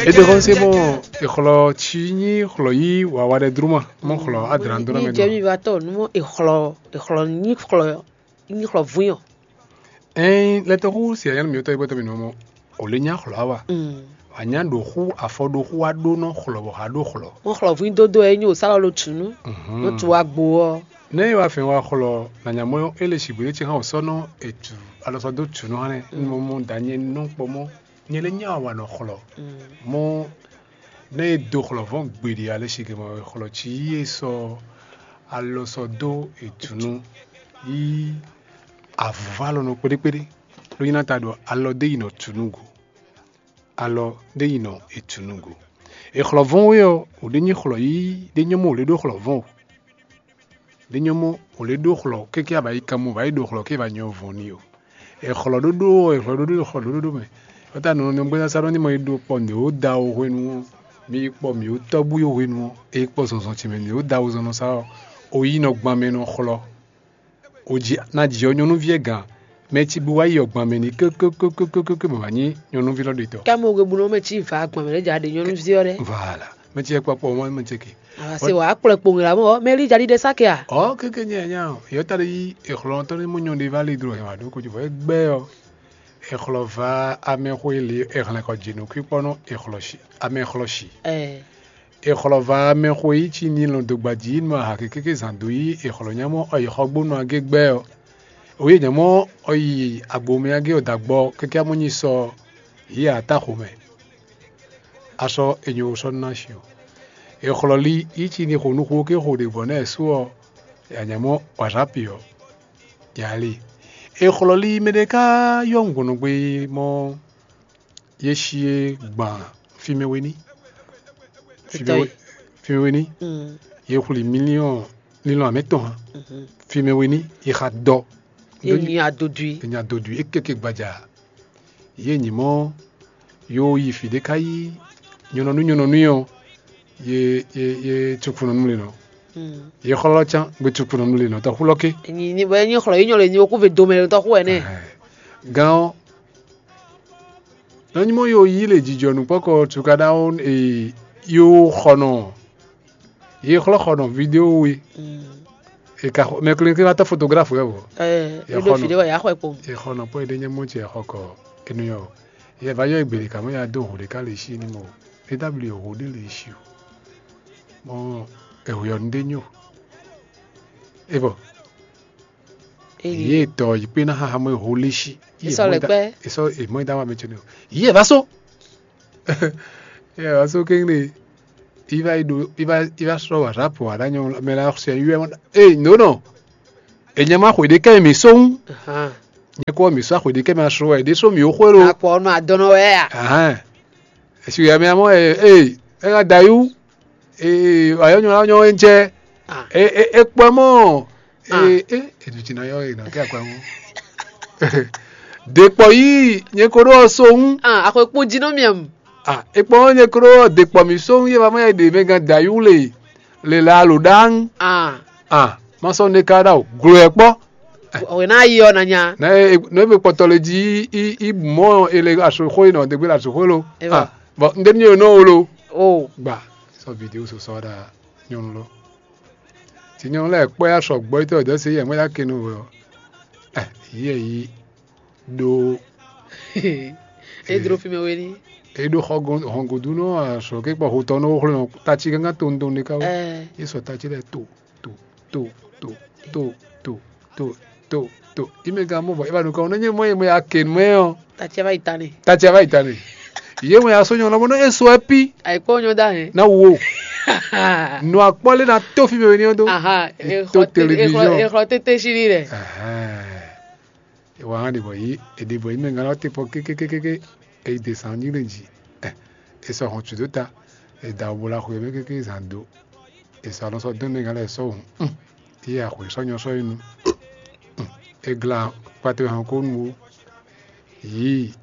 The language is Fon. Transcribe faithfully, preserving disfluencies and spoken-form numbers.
Edegɔnse mɔ exlɔ tsi nyi xlɔ yi wawa ɖe druma mɔ xlɔ adran do na mɛ jɛ do. Mi va tɔ nu mɔ exlɔ exlɔ nyi xlɔ nyi xlɔ vun yɔ. Ɛn lɛtɔxu si ayanu mi tɔ ibɔtɔ mi nɔ mɔ o le nya xlɔ awa. Anya ɖo xu afɔ ɖo xu wa ɖo nɔ xlɔ bɔ ha ɖo xlɔ. Mɔ xlɔ vun dodo ɛ nyi o salɔ lo tunu. Nɔ tu wa gbo ɔ. Ne e wa fɛn wa xlɔ na nya mɔ ele si gbede tsi hã o sɔ nɔ etu alɔsɔ do tunu hã nɛ. Mo mo da nyɛ nɔ kpɔ mɔ nyɛ le nya wa nɔ xlɔ. Mɔ ne e do xlɔ vɔn gbeɖe ale si gɛmɔ xlɔ tsi yi e sɔ alɔsɔ do etunu yi avuvalo nɔ kpéɖékpéɖé. Ló nyina ta ɖɔ alɔ ɖé yi nɔ tunu go. Alɔ ɖé yi nɔ etunu go. Exlɔ vɔn wɛ ɔ, o ɖe nyi xlɔ yi ɖe nyɔmɔ o le ɖo xlɔ vɔn o. Ɖe nyɔmɔ o le ɖo xlɔ kéké aba yi kan mo va yi ɖo xlɔ ké va nyɔ vɔn ni o. Exlɔ ɖoɖo ɔ, exlɔ ɖoɖo xlɔ ɖoɖo mɛ. Ɔta nɔ nɔ gbɛzasa ɖɔ ni mɔ yi ɖo kpɔ nɛ o da o hwenu ɔ, mi yi kpɔ mi o tɔgbu yo hwenu ɔ, e kpɔ zɔnzɔn tsi mɛ nɛ o da o zɔn nɔ sa ɔ, o yi nɔ gban mɛ nɔ xlɔ. O ji na ji ɔ nyɔnuví ɛ gǎn. Mɛ ci bu wá yi ɔgbɔn mɛ ní kékékékékéké bɔ wǎ nyí nyɔnuví lɔ ɖetɔ́. Kɛ mo gbe bunɔ mɛ ci va gbɔn mɛ ɖe ja ɖe nyɔnuví ɔ ɖe. Voilà. Mɛ ci yɛ kpɔkpɔ mɔ mɛ ce ke. Ava se wa kplɔ kpo ŋla mɔ mɛ li ja ɖi ɖe sa ke a. Ɔ kéké nyɛ nya ɔ yɔ ta ɖe yi exlɔ tɔ ne mo nyɔ ɖe va li dro hɛn wa ɖo ko jovɔ egbɛ ɔ. Exlɔ va amɛ xo ele exlɛ kɔ dzi nukui kpɔ nɔ exlɔ si amɛ xlɔ si. Ɛ. Exlɔ va amɛ xo yi ci ni lɔn dogbaji yi nɔ aha kékéké zan do yi exlɔ nyamɔ ɔ yi xɔ gbónú agé gbɛ ɔ. Oyi nyamɔ ɔ yi agbomɛ agé ɔ dagbɔ kéké amɔ nyi sɔ yi ata xomɛ. Asɔ enyo sɔ na si o. Exlɔ li yi ci ni xo nuxu ke xo ɖe gbɔ nɛ su ɔ. Ya nyamɔ wazapi ɔ. Ya li. Exlɔ li mɛ ɖe ka yɔ ŋgɔnɔgbe mɔ ye si e gban fimɛ we ní. Fimɛ we ní. Ye xwli miliɔn lilɔn amɛ tɔn hã. Fimɛ we ní ye xa dɔ. Ye nyi adodui. Ye nyi adodui e keke gbaja. Ye nyi mɔ yo yi fi ɖe ka yi nyɔnɔnu nyɔnɔnu yɔ ye ye ye tukunu nu le nɔ. Ye xlɔ can gbe tukunu nu le nɔ tɔ xulɔ ke. Nyi nyi bɔ enyi xlɔ yi nyɔ le nyi okú ve domɛ le tɔ xú ɛnɛ. Gan ɔ nɔ nyi mɔ yo yi le jijɔ nukpɔkɔ tukada wo e yo xɔnɔ ye xlɔ xɔnɔ video we. E ka xɔ mɛ kle kle va tɔ photographe wɛ vɔ. Ɛ Ye eɖo xɔ fi nɔ. Ɖe wɔ ya xɔ ekpo. Ye xɔ nɔ pɔ ede nyɛ mɔ ce xɔ kɔ enu yɔ. Ye va yɔ egbeli kamɔ ya do ho ɖeka le si ni mo. E dabli ho ɖe le si o. Mɔ ehwe ɔ nu ɖe nyo. E bɔ Eyi. Ye tɔ yi kpe na xaxa mɔ eho le si. Esɔ le kpɛ. Esɔ emɔ da wa mɛ tsɛ ne o. Ye va so. Ye va so kengre. Iva ido iva iva srɔ wa rapo wa da nyɔ mɛ la sɛ yue mɔ. Ee no no. Enyama xwe ɖe kɛ mi so ŋu. Ahan. Nye kɔ mi so axwe ɖe kɛ mi asrɔ wa ɖe so mi o xwe lo. Akpɔ nɔ adɔnɔ wɛ a. Ahan. Esi ya mi amɔ ee ee ega da yu. Ee ayɔ nyɔ la nyɔ e ŋtsɛ. Ah. E e e kpɔ mɔ. Ah. Ee e edu tsi na yɔ e na kɛ akpa mɔ. Ɖe kpɔ yi nye ko ɖo ɔsɔ ŋu. Ah, axɔkpo dzi nɔ miam. Ah, e kpɔ nye ko ɖo ɖe kpɔ mi so ŋu ye va mɔ ya ɖe mɛ gan da yu le le la alo ɖa ŋu. Ah. Ah, ma sɔ ne ka ɖa o glo ɛ kpɔ. Ɔwɛ na yi ɔ na nya. Na e no e be kpɔtɔ le dzi i i mɔ ele asoxo yi nɔ degbe le asoxo lo. Eva. Ah, bon, n ɖe mi nɔ wo lo. O. Gba sɔ video so sɔ ɖa nyɔnu lo. Ti nyɔnu lɛ kpɔ ya sɔ gbɔ itɔ dɔ se yɛ mɔ ya ke no wo. Eh, yɛ yi ɖo E dro fi mɛ we ni. E ɖo xɔ hɔn godu nɔ asɔ ke kpɔ hotɔ nɔ xlɔ tatsi gángan to ŋdɔn ɖe ka wo. Ɛ. Ye sɔ tatsi lɛ to to to to to to to to to. Ime gan mɔ bɔ e va nu ka wo ne nye mɔ ye mɔ ya ke mɛ ɔ. Tatsi va yi ta ne. Tatsi va yi ta ne. Ye mɔ ya sɔ nyɔ lɔmɔ nɔ e sɔ ɛ pi. Ayi kpɔ nyɔ da hɛn. Na wo. Nɔ akpɔ le na to fi mɛ we ni ɔ do. Aha. To télévision. Exlɔ tete si ni dɛ. Ahan. E wa hã ɖibɔ yi e ɖibɔ yi mɛ ŋa lɔ te kpɔ kékékékéké e yi de sàn nyí ɖe jí. E sɔ hɔn tsu dó ta e da bo la xwe mɛ kéké zan do. E sɔ alɔ sɔ dɔn mɛ ŋa lɛ sɔ hɔn. Yi axwe sɔ nyɔ sɔ yi nu. E gla kpatɛ hɔn ko nu wo. Yi